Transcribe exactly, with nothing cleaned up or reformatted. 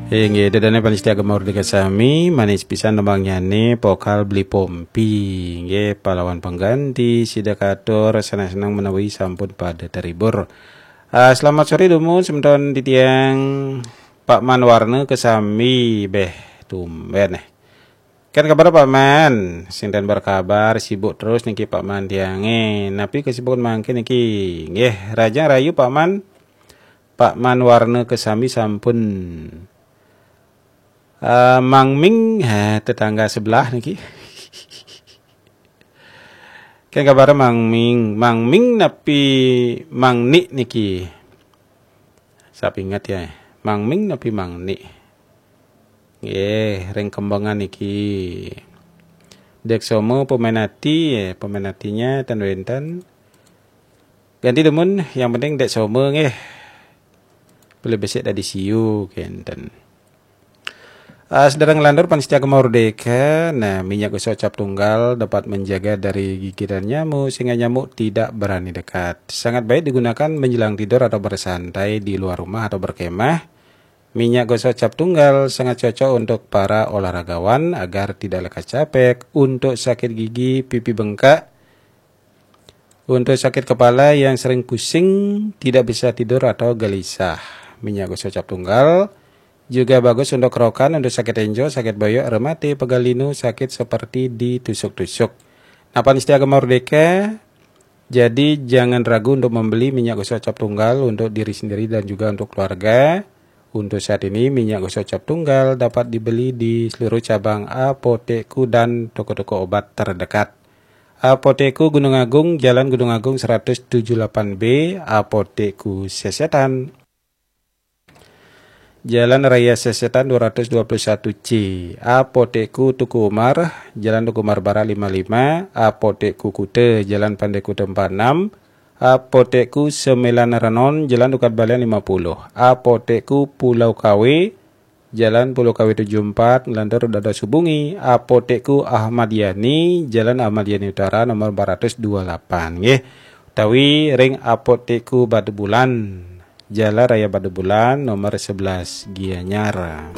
Inggih, dedane panitia Gema Merdeka sami, manis pisan tembangnyané pokal beli pompi. Inggih, pahlawan pengganti sida katur senang-senang menawi sampun pada terhibur. Ah, selamat sore dumun semeton titiang Pak Man Warna kesami. Beh, tumben eh. Kan kabar Pak Man, sing ten berkabar, sibuk terus niki Pak Man tiange. Napi kesibukan mangkin niki? Nggih, rajang rayu Pak Man. Pak Man Warna kesami sampun eh, Mang Ming, eh, tetangga sebelah niki. Kan kabar Mang Ming, Mang Ming napi Mang Nik niki? Sap ingat ya, Mang Ming napi Mang Nik? Nggih, ring Kembangan niki. Dek Somo pemain ati, eh, pemain atinya ten wenten. Ganti dumun, yang penting Dek Somo nggih. Pilih besik dadi siu kenten. Ah, sedherek nglantur panitia Gema Merdeka, nah, minyak gosok cap tunggal dapat menjaga dari gigitan nyamuk sehingga nyamuk tidak berani dekat. Sangat baik digunakan menjelang tidur atau bersantai di luar rumah atau berkemah. Minyak gosok cap tunggal sangat cocok untuk para olahragawan agar tidak lekas capek, untuk sakit gigi, pipi bengkak, untuk sakit kepala yang sering pusing, tidak bisa tidur atau gelisah. Minyak gosok cap tunggal juga bagus untuk kerokan, untuk sakit enjo, sakit boyok, rematik, pegal linu, sakit seperti ditusuk-tusuk. Nah, panitia Gema Merdeka, jadi jangan ragu untuk membeli minyak gosok cap tunggal untuk diri sendiri dan juga untuk keluarga. Untuk saat ini, minyak gosok cap tunggal dapat dibeli di seluruh cabang apotekku dan toko-toko obat terdekat. Apotekku Gunung Agung, Jalan Gunung Agung seratus tujuh delapan B, Apotekku Sesetan, Jalan Raya Sesetan dua ratus dua puluh satu C, Apotekku Teuku Umar, Jalan Teuku Umar Barat lima lima, Apotekku Kuta, Jalan Pantai Kuta empat enam, Apotekku Sembilan Renon, Jalan Tukad Balian lima puluh, Apotekku Pulau Kawe, Jalan Pulau Kawe tujuh empat, nglantur dados hubungi Apotekku Ahmad Yani, Jalan Ahmad Yani Utara nomor empat ratus dua puluh delapan, nggih. Utawi ring Apotekku Batu Bulan, Jalan Raya Batu Bulan nomor sebelas, Gianyar.